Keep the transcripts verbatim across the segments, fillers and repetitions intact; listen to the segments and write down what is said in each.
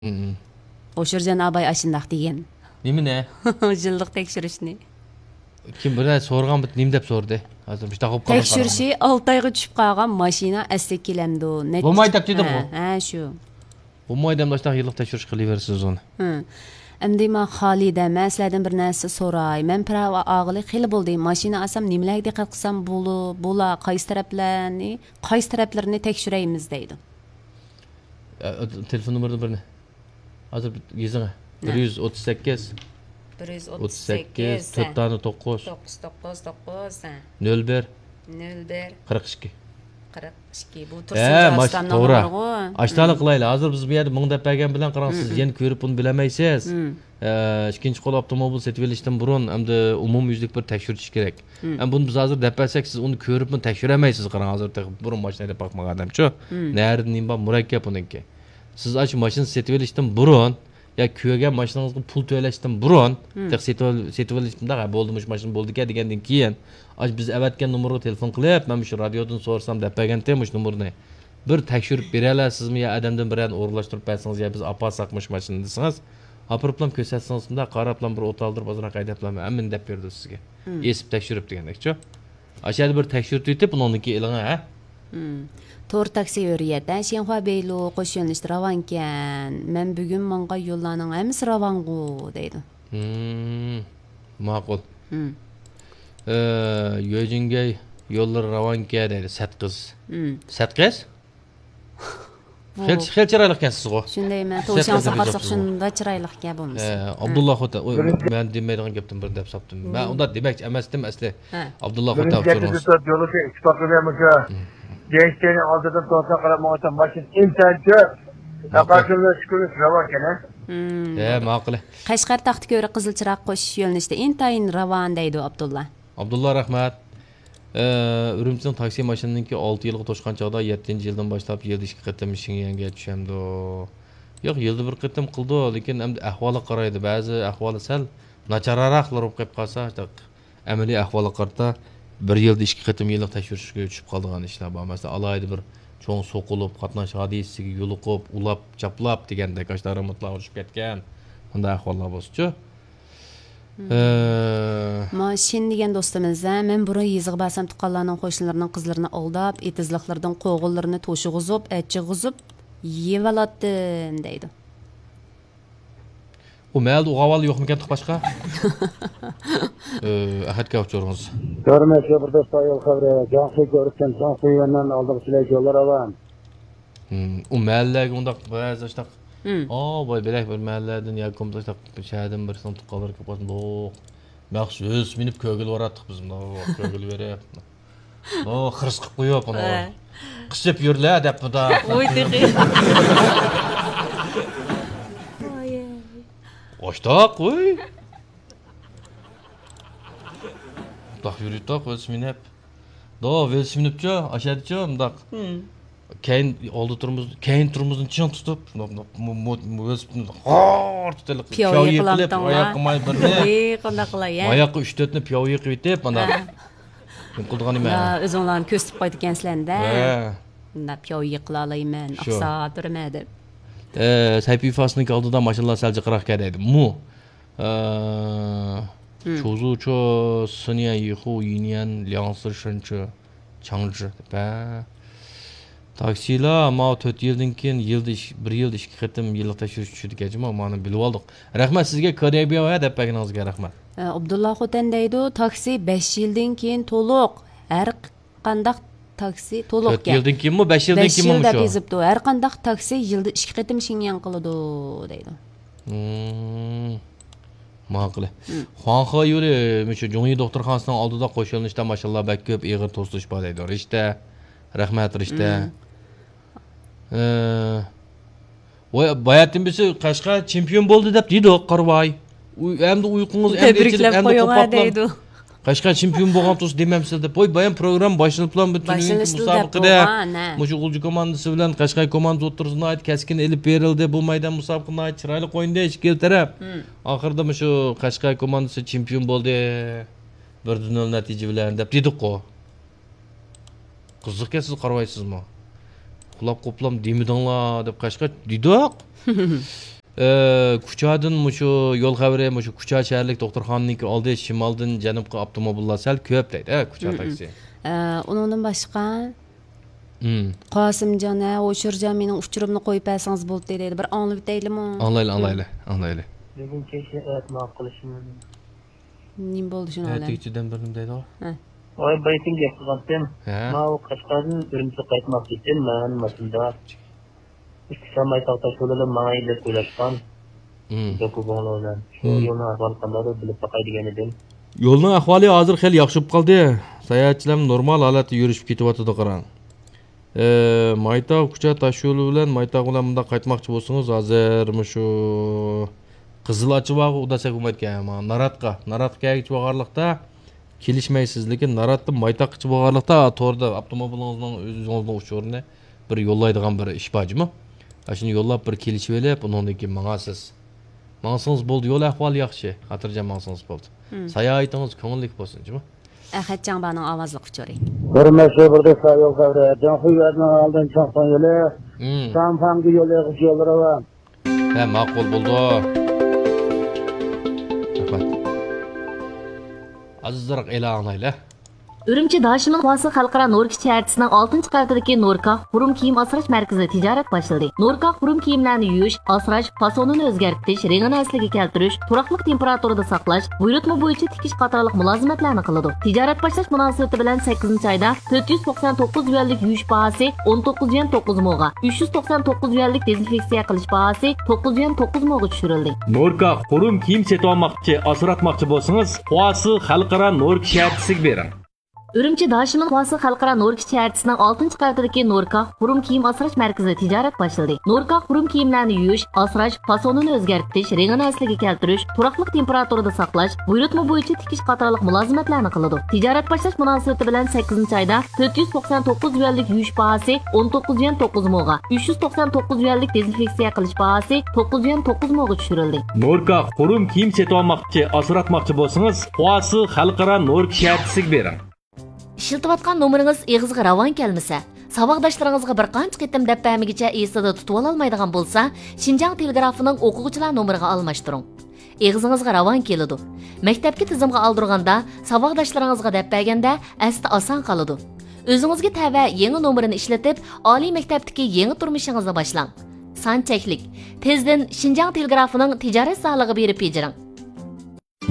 مم. ھوشۇرجان ئاباي ئاشۇنداق دېگەن. نېمىنى؟ يىللىق تەكشۈرۈشنى. كىم بىر نەرسە سورىغان، بىر نېمە دەپ سورىدى؟ ھازىر مۇشۇنداق بولۇپ قالغان تەكشۈرۈشى قارىغان. ئالتە ئايغا چۈشۈپ قالغان ماشىنا ئەسلىگە كېلەمدۇ؟ نەچچە بولمايدۇ دەپ دېدىمغۇ. ھە، ھە، شۇ. بولمايدۇ ئەمدى ئاشۇنداق يىللىق تەكشۈرۈش قىلىۋېرىسىز ئۇنى. ھە. ئەمدى مانا خالىدە، مەن سىلەردىن بىر نەرسە سوراي. مەن پىراۋا ئالغىلى خېلى بولدى. ماشىنا ئالسام نېمىلەرگە دىققەت قىلسام بولۇ-، بولا، قايسى تەرەپلەرنى، قايسى تەرەپلىرىنى تەكشۈرەيمىز دەيدۇ. ئە، تېلېفون نومۇرىنى بىرنى. ھازىر يېزىڭ. نە؟ بىر يۈز ئوتتۇز سەككىز. بىر يۈز ئوتتۇز سەككىز، تۆت دانە توققۇز. توققۇز، توققۇز، توققۇز، ھە. نۆل بىر. نۆل بىر. قىرىق ئىككى. قىرىق ئىككى. بۇ ھە، تۇرسۇن ماش-، جاسىتاننىڭ توغرا. نومۇرىغۇ. ئاشتانلىق قىلايلى. ھازىر بىز بۇ يەردە مىڭ دەپ بەرگەن بىلەن قاراڭ، مم، سىز، مم، يەنە كۆرۈپ بۇنى بىلەلمەيسىز. مم. ئە، ئىككىنچى قول ئاپتوموبىل سېتىۋېلىشتىن بۇرۇن، ئەمدى ئومۇميۈزلۈك بىر تەكشۈرتۈش كېرەك. مم. ئەمدى بۇنى بىز ھازىر دەپ بەرسەك، سىز ئۇنى كۆرۈپمۇ تەكشۈرەلمەيسىز. قاراڭ، ھازىر تېخى بۇرۇن ماشىنا ھەيدەپ باقمىغان ئادەمچۇ؟ مم. نەرىدە نېمە بار، مۇرەككەپ ئۇنىڭكى. سىز ئاشۇ ماشىنا سېتىۋېلىشتىن بۇرۇن يا كۆرگەن ماشىنىڭىزغا پۇل تۆلەشتىن بۇرۇن، مم، تېخى سېتىۋال-، سېتىۋېلىش مۇنداق، ھە، بولدى، مۇشۇ ماشىنا بولدىكەن دېگەندىن كېيىن، ئاشۇ بىز ئەۋەتكەن نومۇرغا تېلېفون قىلىپ، مەن مۇشۇ رادىيودىن سورىسام دەپ بەرگەنتى مۇشۇ نومۇرنى. بىر تەكشۈرۈپ بېرەلەيسىزمۇ يا ئادەمدىن بىرەرنى ئورۇنلاشتۇرۇپ بەرسىڭىز يا بىز ئاپارساق مۇشۇ ماشىنىنى دېسىڭىز، ئاپىرىپلام كۆرسەتسىڭىز، مۇنداق قاراپلام بىر ئوت ئالدۇرۇپ ئازراق ھەيدەپلام ھەممىنى دەپ بېرىدۇ سىزگە. مم. ئېسىپ تەكشۈرۈپ دېگەندەكچۇ. ئاشۇ يەردە بىر تەكشۈرتۈۋېتىپ، ئۇنىڭدىن كېيىن ئېلىڭە، ھە؟ مم. تور تاكسى ھۆرىيەت، ھە؟ شيەنخۇا بېيلۇ قوش يۆنىلىشتە راۋانكەن. مەن بۈگۈن ماڭغان يوللارنىڭ ھەممىسى راۋانغۇ، دەيدۇ. مم. ماقۇل. مم. ئە، يۆجىنگەي يوللىرى راۋانكەن دەيدۇ، سەت قىز. مم. سەت قىز؟ بۇ خېلى، خېلى چىرايلىق ئىكەنسىزغۇ. شۇندايمەن. سەت توشاڭ قىز دەپ ساقارساق يېزىپسىز. شۇندا چىرايلىق ئىكەن بولمىسا. ئە، ھە. ئابدۇللا خوتەن، ئۇ، مەن دېمەيدىغان گەپتىن بىرنى دەپ ساپتىم. مەن ئۇنداق دېمەكچى ئەمەستىم ئەسلى. ھە. ئابدۇللا خوتەن ئۇچۇرىڭىز. بىرىنچى يولى ئىتتىپاقلىدى مۇشۇ. مم. جەيشتەينى ئالدىدىن توسا قاراپ ماڭغانچە ماشىنا ئىنتايىن كۆپ. ماقۇل. تاقاسىمدا شۈكۈرلۈك راۋان ئىكەن، ھە؟ مم. ھە، ماقۇل. قەشقەر تاختىكۆرە قىزىل چىراغ قوشۇش يۆنىلىشتە ئىنتايىن راۋان دەيدۇ ئابدۇللا. ئابدۇللا، رەھمەت. ئە، ئۈرۈمچىنىڭ تاكسى ماشىنىنىڭكى ئالتە يىلغا توشقان چاغدا يەتتىنچى يىلدىن باشلاپ يىلدا ئىككى قېتىم شېڭيەنگە چۈشەمدۇ؟ ياق، يىلدا بىر قېتىم قىلىدۇ، لېكىن ئەمدى ئەھۋالغا قارايدۇ. بەزى ئەھۋالى سەل ناچارراقلار بولۇپ قېلىپ قالسا، ئەمەلىي ئەھۋالغا قارىتا بىر يىلدا ئىككى قېتىم يىللىق تەكشۈرۈشكە چۈشۈپ قالىدىغان ئىشلار بار. مەسىلەن، ئالاھىدە بىر چوڭ سوقۇلۇپ، قاتناش ھادىسىسىگە يولۇقۇپ، ئۇلاپ، چاپلاپ دېگەندەك ئاشۇ تارىمۇتلارغا چۈشۈپ كەتكەن، بۇنداق ئەھۋاللار بولسىچۇ. ھە. ما شىن دېگەن دوستىمىز، ھە، مەن بۇرۇن يېزىغا بارسام، تۇغقانلارنىڭ، قوشنىلىرىنىڭ قىزلىرىنى ئالداپ، ئېتىزلىقلىرىدىن قوغۇنلىرىنى توشۇغۇزۇپ، ئەچىغۇزۇپ يېيىۋالاتتىم، دەيدۇ. ئۇ مەھەلدە ئۇ ئاۋال يوقمىكەن باشقا؟ ئە، ئەخەتكە ئۇچۇرىڭىز. كۆرمەسكە بىر دوست ئايال خەۋىرى، جاڭسۇ كۆرۈكتىن، جاڭسۇ يۈەننەن ئالدىغا سىلەي يوللار ئاۋام. ھىم، ئۇ مەھەللىلەرگە ئۇنداق بەزى ئاشتاق، ھىم، ئاۋۇ بەلەك بىر مەھەللىلەردىن ياكى بولمىسا ئاشتاق شەھەردىن بىرسىنىڭ تۇغقانلىرى كېلىپ قالسا، مۇنداق مەخسۇس مىنىپ كۆگىلى باراتتۇق بىز، مۇنداق كۆگىلى بېرىپ، مۇنداق خىرىس قىلىپ قويۇپ، مۇنداق، ھە، قىسىپ يۈرلە دەپ، مۇنداق. ۋوي، تېخى. ئاشتاق، ۋوي. مۇنداق يۈرۈيتتۇق، ۋېلىسىپىت مىنىپ. دو، ۋېلىسىپىت مىنىپچۇ، ئاشەدىچۇ، مۇنداق. ھىم. كەينى ئالدى تۇرمۇز، كەينى تۇرمۇزنى چىڭ تۇتۇپ، مۇ-، مۇ-، مۇ-، مۇ-، ۋېلىسىپىتنى غار تۇتۇلۇپ، پىياۋيې پىياۋيې قىلىپ، قىلامتىڭلار. ئاياققا ماي بىرنى، ۋىي، قانداق قىلاي، ھە؟ ئاياققا ئۈچ تۆتنى پىياۋيې قىلىۋېتىپ، مانا. ھە. نېمە قىلىدىغان نېمە؟ ھە، ئۆزۈڭلارنى كۆرسىتىپ قويىدىكەنسىلەر-دە. ھە. مۇنداق پىياۋيې قىلالايمەن، شۇ. ئاقساپ تۇرىمەن دەپ. ئە، سەيپى فاسنىڭكى ئالدىدا ماشىنىلار سەل جىقراق كەتتى دەيدۇ. مۇ. ئە، ھىم. چوزۇچۇ، سىنيەن، يىخۇ، يىنيەن، لياڭسى، شېنچۇ، چاڭجى دەپ، ھە. تاكسىلار ماۋۇ تۆت يىلدىن كېيىن يىلدا ئىش-، بىر يىلدا ئىككى قېتىم يىللىق تەكشۈرۈش چۈشىدىكەن جۇمۇ، مانا بىلىۋالدۇق. رەھمەت سىزگە، كوريا بياۋ ھە دەپ بەرگىنىڭىزگە رەھمەت. ئە، ئابدۇللا خوتەن دەيدۇ، تاكسى بەش يىلدىن كېيىن تولۇق، ھەر قانداق تاكسى تولۇق تۆت يىلدىن كېيىنمۇ، بەش يىلدىن بەش يىل كېيىنمۇ دەپ مۇشۇ يېزىپتۇ. ھەر قانداق تاكسى يىلدا ئىككى قېتىم شېڭيەن قىلىدۇ، دەيدۇ. مم. ماقۇل. مم. خۇاڭخې يولى، مۇشۇ جۇڭيى دوختۇرخانىسىنىڭ ئالدىدا قوش يۆنىلىشتە ماشىنىلار بەك كۆپ، ئېغىر توسۇلۇش بار دەيدۇ. رىشتە. رەھمەت، رىشتە. مم. ئە، ۋاي، باياتىن بىرسى قەشقەر چېمپىيون بولدى دەپ دېدۇق، قارىۋاي. ئۇ-، ئەمدى ئۇيقۇڭىز ئەمدى ئېچىلىپ، تەبرىكلەپ ئەمدى قويۇڭا قوپۇپلا دەيدۇ. قەشقەر چېمپىيون بولغان تۇرسا دېمەمسىز دەپ. ۋاي، بايام پروگرامما باشلىنىپلا، بۇ تۈنۈگۈنكى باشلىنىشتىلا دەپ مۇسابىقىدە بولغان، ھە. مۇشۇ غۇلجا كوماندىسى بىلەن قەشقەر كوماندىسى ئوتتۇرىسىدا ناھايىتى كەسكىن ئېلىپ بېرىلدى. بۇ مەيدان مۇسابىقە ناھايىتى چىرايلىق ئوينىدى ئىككىلا تەرەپ. مم. ئاخىرىدا مۇشۇ قەشقەر كوماندىسى چېمپىيون بولدى. بىر دە نۆل نەتىجە بىلەن دەپ دېدۇققۇ. قىزىقكەن، سىز قارىۋايسىزمۇ؟ قۇلاپ قوپلام دېمىدىڭلار دەپ قاچقاچ دېدۇق. ئە، كۇچادىن مۇشۇ يول خەۋىرى، مۇشۇ كۇچا شەھەرلىك دوختۇرخانىنىڭكى ئالدى، شىمالدىن جەنۇبقا ئاپتوموبىللار سەل كۆپ دەيدۇ، ئە، كۇچا تاكسى. ئە، ئۇنىڭدىن باشقا، قاسىمجان، ھە، ھوشۇرجان، مېنىڭ ئۇچۇرۇمنى قويۇپ بەرسىڭىز بولدى دەيدۇ. بىر ئاڭلىۋېتەيلىمۇ؟ ئاڭلايلى، ئاڭلايلى، ئاڭلايلى. بۈگۈن كەچ ئەتە ماقۇل قىلىشىم. نېمە بولدى شۇنىڭ بىلەن؟ ئەتىگىچە دەم بېرىمەن دەيدۇ. ھە. ۋاي، بايىتىم گەپ قىلغانتىم. ھە. ماۋۇ قەشقەردىن ئۈرۈمچىگە قايتماقچى ئىدىم، مەن ماشىنىدا. ئىككى ساماي تاغ تاش يولىدا ماڭاي دەپ ئويلاشقان. دوكۇبۇڭلار بىلەن. شۇ يولنىڭ ئەھۋالى قانداق دەپ بىلىپ باقاي دېگەن ئىدىم. يولنىڭ ئەھۋالى ھازىر خېلى ياخشى بولۇپ قالدى. ساياھەتچىلەرمۇ نورمال ھالەتتە يۈرۈشۈپ كېتىۋاتىدۇ، قاراڭ. ئى، مايتاغ كۇچا تاش يولى بىلەن مايتاغ بىلەن مۇنداق قايتماقچى بولسىڭىز، ھازىر مۇشۇ قىزىل ئاچىۋاغا ئۇداسەك بولمايدىكەن، مانا ناراتقا، ناراتقا كەلگۈچە بولغانلىقتا كېلىشمەيسىز، لېكىن ناراتتىن مايتاغقىچە بولغانلىقتا توردا ئاپتوموبىلىڭىزنىڭ ئۆزىڭىزنىڭ ئۇچۇرىنى بىر يوللايدىغان بىر ئىش بار جۇمۇ. ئاشۇنى يوللاپ بىر كېلىشىۋېلىپ، ئۇنىڭدىن كېيىن ماڭارسىز. ماڭسىڭىز بولدى، يول ئەھۋالى ياخشى، خاتىرجەم ماڭسىڭىز بولدى. ساياھىتىڭىز كۆڭۈللۈك بولسۇن جۇمۇ. ئەخەت جاڭبانىڭ ئاۋازلىق ئۇچۇرى. بىر مەشھۇر بىر دەستە يول خەۋىرى. جاڭخۇيۋەننىڭ ئالدىن چاڭفاڭ يولى، شاڭفاڭگە يول ئېغىش يوللىرى بار. ھە، ماقۇل بولدى. رەھمەت. ئازراق ئېلان ئاڭلايلى. ئۈرۈمچى داشىمىن خۇاسى خەلقئارا نوركا شەھەرچىسىنىڭ ئالتىنچى قەۋىتىدىكى نوركا خۇرۇم كىيىم ئاسراش مەركىزىدە تىجارەت باشلىدى. نوركا خۇرۇم كىيىملەرنى يۇيۇش، ئاسراش، فاسونىنى ئۆزگەرتىش، رېڭىنى ئەسلىگە كەلتۈرۈش، تۇراقلىق تېمپېراتۇرىدا ساقلاش، بۇيرۇتما بويىچە تىكىش قاتارلىق مۇلازىمەتلەرنى قىلىدۇ. تىجارەت باشلاش مۇناسىۋىتى بىلەن سەككىزىنچى ئايدا تۆت يۈز توقسان توققۇز يۈەنلىك يۇيۇش باھاسى ئون توققۇز يۈەن توققۇز موغا، ئۈچ يۈز توقسان توققۇز يۈەنلىك دېزىنفېكسىيە قىلىش باھاسى توققۇز يۈەن توققۇز موغا چۈشۈرۈلدى. نوركا خۇرۇم كىيىم سېتىۋالماقچى، ئاسراتماقچى بولسىڭىز، خۇاسى خەلقئارا نوركا شەھەرچىسىگە بېرىڭ. ئۈرۈمچى داشىمىن خۇاسى خەلقئارا نوركا شەھەرچىسىنىڭ ئالتىنچى قەۋىتىدىكى نوركا خۇرۇم كىيىم ئاسراش مەركىزىدە تىجارەت باشلىدى. نوركا خۇرۇم كىيىملەرنى يۇيۇش، ئاسراش، فاسونىنى ئۆزگەرتىش، رېڭىنى ئەسلىگە كەلتۈرۈش، تۇراقلىق تېمپېراتۇرىدا ساقلاش، بۇيرۇتما بويىچە تىكىش قاتارلىق مۇلازىمەتلەرنى قىلىدۇ. تىجارەت باشلاش مۇناسىۋىتى بىلەن سەككىزىنچى ئايدا تۆت يۈز توقسان توققۇز يۈەنلىك يۇيۇش باھاسى ئون توققۇز يۈەن توققۇز موغا، ئۈچ يۈز توقسان توققۇز يۈەنلىك دېزىنفېكسىيە قىلىش باھاسى توققۇز يۈەن توققۇز موغا چۈشۈرۈلدى. نوركا خۇرۇم كىيىم سېتىۋالماقچى، ئاسراتماقچى بولسىڭىز، خۇاسى خەلقئارا نوركا شەھەرچىسىگە بېرىڭ. ئىشلىتىۋاتقان نومۇرىڭىز ئېغىزغا راۋان كەلمىسە، ساۋاقداشلىرىڭىزغا بىر قانچە قېتىم دەپ بەرمىگىچە ئېسىدە تۇتۇۋالالمايدىغان بولسا، شىنجاڭ تېلېگرافىنىڭ ئوقۇغۇچىلار نومۇرىغا ئالماشتۇرۇڭ. ئېغىزىڭىزغا راۋان كېلىدۇ. مەكتەپكە تىزىمغا ئالدۇرغاندا، ساۋاقداشلىرىڭىزغا دەپ بەرگەندە ئەستە ئاسان قالىدۇ. ئۆزىڭىزگە تەۋە يېڭى نومۇرنى ئىشلىتىپ، ئالىي مەكتەپتىكى يېڭى تۇرمۇشىڭىزنى باشلاڭ. سان چەكلىك. تېزدىن شىنجاڭ تېلېگرافىنىڭ تىجارەت زالىغا بېرىپ بېجىرىڭ.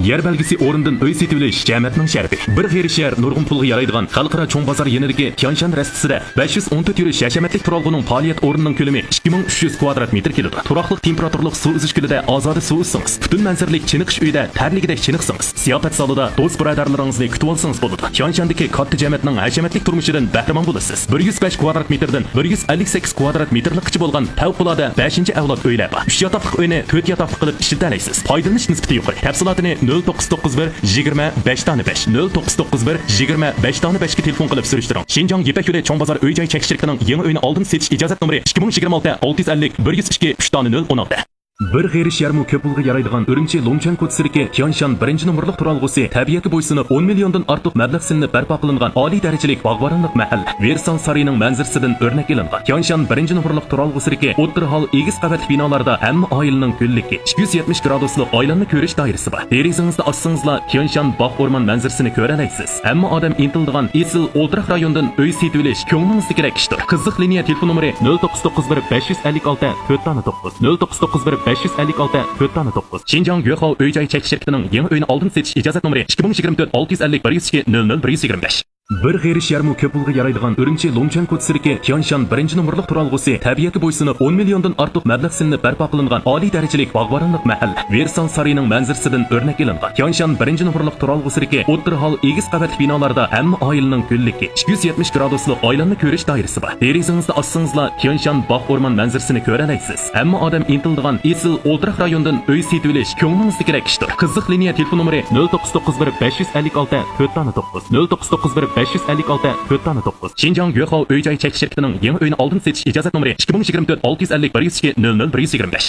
يەر بەلگىسى ئورنىدىن ئۆي سېتىۋېلىش جەمەتنىڭ شەرىپى. بىر غېرىب شەھەر نۇرغۇن پۇلغا يارايدىغان خەلقئارا چوڭ بازار يېنىدىكى تيانشان رەستىسىدە بەش يۈز ئون تۆت يۈرۈش ھەشەمەتلىك تۇرالغۇنىڭ پائالىيەت ئورنىنىڭ كۆلىمى ئىككى مىڭ ئۈچ يۈز كۋادرات مېتىر كېلىدۇ. تۇراقلىق تېمپېراتۇرىلىق سۇ ئۈزۈش كۆلىدە ئازادە سۇ ئۈزسىڭىز، پۈتۈن مەنزىرىلىك چېنىقىش ئۆيىدە تەرلىگۈدەك چېنىقسىڭىز، زىياپەت زالىدا دوست بۇرادەرلىرىڭىزنى كۈتۈۋالسىڭىز بولىدۇ. تيانشاندىكى كاتتا جەمەتنىڭ ھەشەمەتلىك تۇرمۇشىدىن بەھرىمەن بولىسىز. بىر يۈز بەش كۋادرات مېتىردىن بىر يۈز ئەللىك سەككىز كۋادرات مېتىرلىققىچە بولغان پەۋقۇلئاددە بەشىنچى ئەۋلاد ئۆيلەر بار. ئۈچ ياتاقلىق ئۆينى تۆت ياتاقلىق قىلىپ ئىشلىتەلەيسىز. پايدىلىنىش نىسبىتى يۇقىرى. تەپسىلاتىنى نۆل توققۇز توققۇز بىر يىگىرمە بەش دانە بەش، نۆل توققۇز توققۇز بىر يىگىرمە بەش دانە بەشكە تېلېفون قىلىپ سۈرۈشتۈرۈڭ. شىنجاڭ يىپەك يولى چوڭ بازار ئۆي جاي چەكلىك شىركىتىنىڭ يېڭى ئۆينى ئالدىن سېتىش ئىجازەت نومۇرى ئىككى مىڭ يىگىرمە ئالتە ئالتە يۈز ئەللىك بىر يۈز ئىككى ئۈچ دانە نۆل ئون ئالتە. بىر غېرىب شەھەرمۇ كۆپ پۇلغا يارايدىغان ئۈرۈمچى لۇڭچەن كوچىسىدىكى تيانشان بىرىنچى نومۇرلۇق تۇرالغۇسى تەبىئەتكە بويسۇنۇپ، ئون مىليوندىن ئارتۇق مەبلەغ سېلىنىپ بەرپا قىلىنغان ئالىي دەرىجىلىك باغۋەنلىك مەھەللە، ۋېرسال سارىيىنىڭ مەنزىرىسىدىن ئۆرنەك ئېلىنغان. تيانشان بىرىنچى نومۇرلۇق تۇرالغۇسىدىكى ئوتتۇرا ھال ئېگىز قەۋەتلىك بىنالاردا ھەممە ئائىلىنىڭ گۈللۈكى، ئىككى يۈز يەتمىش گرادۇسلۇق ئايلانما كۆرۈش دائىرىسى بار. دېرىزىڭىزنى ئاچسىڭىزلا، تيانشان باغ ئورمان مەنزىرىسىنى كۆرەلەيسىز. ھەممە ئادەم ئىنتىلىدىغان ئېسىل ئولتۇراق رايونىدىن ئۆي سېتىۋېلىش كۆڭلىڭىزدىكىدەك ئىشتۇر. قىزىق لىنىيە تېلېفون نومۇرى نۆل توققۇز توققۇز بىر بەش يۈز ئەللىك ئالتە تۆت دانە توققۇز، نۆل توققۇز توققۇز بىر بەش يۈز ئەللىك ئالتە تۆت دانە توققۇز. شىنجاڭ يۆخاۋ ئۆي جاي چەكلىك شىركىتىنىڭ يېڭى ئۆينى ئالدىن سېتىش ئىجازەت نومۇرى ئىككى مىڭ يىگىرمە تۆت ئالتە يۈز ئەللىك بىر يۈز ئىككى نۆل نۆل بىر يۈز يىگىرمە بەش. بىر غېرىب شەھەرمۇ كۆپ پۇلغا يارايدىغان ئۈرۈمچى لۇڭچەن كوچىسىدىكى تيانشان بىرىنچى نومۇرلۇق تۇرالغۇسى تەبىئەتكە بويسۇنۇپ، ئون مىليوندىن ئارتۇق مەبلەغ سېلىنىپ بەرپا قىلىنغان ئالىي دەرىجىلىك باغۋەنلىك مەھەللە، ۋېرسال سارىيىنىڭ مەنزىرىسىدىن ئۆرنەك ئېلىنغان. تيانشان بىرىنچى نومۇرلۇق تۇرالغۇسىدىكى ئوتتۇرا ھال ئېگىز قەۋەتلىك بىنالاردا ھەممە ئائىلىنىڭ گۈللۈكى، ئىككى يۈز يەتمىش گرادۇسلۇق ئايلانما كۆرۈش دائىرىسى بار. دېرىزىڭىزنى ئاچسىڭىزلا، تيانشان باغ ئورمان مەنزىرىسىنى كۆرەلەيسىز. ھەممە ئادەم ئىنتىلىدىغان ئېسىل ئولتۇراق رايونىدىن ئۆي سېتىۋېلىش كۆڭلىڭىزدىكىدەك ئىشتۇر. قىزىق لىنىيە تېلېفون نومۇرى نۆل توققۇز توققۇز بىر بەش يۈز ئەللىك ئالتە تۆت دانە توققۇز، نۆل توققۇز توققۇز بىر بەش يۈز ئەللىك ئالتە تۆت دانە توققۇز. شىنجاڭ يۆخاۋ ئۆي جاي چەكلىك شىركىتىنىڭ يېڭى ئۆينى ئالدىن سېتىش ئىجازەت نومۇرى ئىككى مىڭ يىگىرمە تۆت ئالتە يۈز ئەللىك بىر يۈز ئىككى نۆل نۆل بىر يۈز يىگىرمە بەش.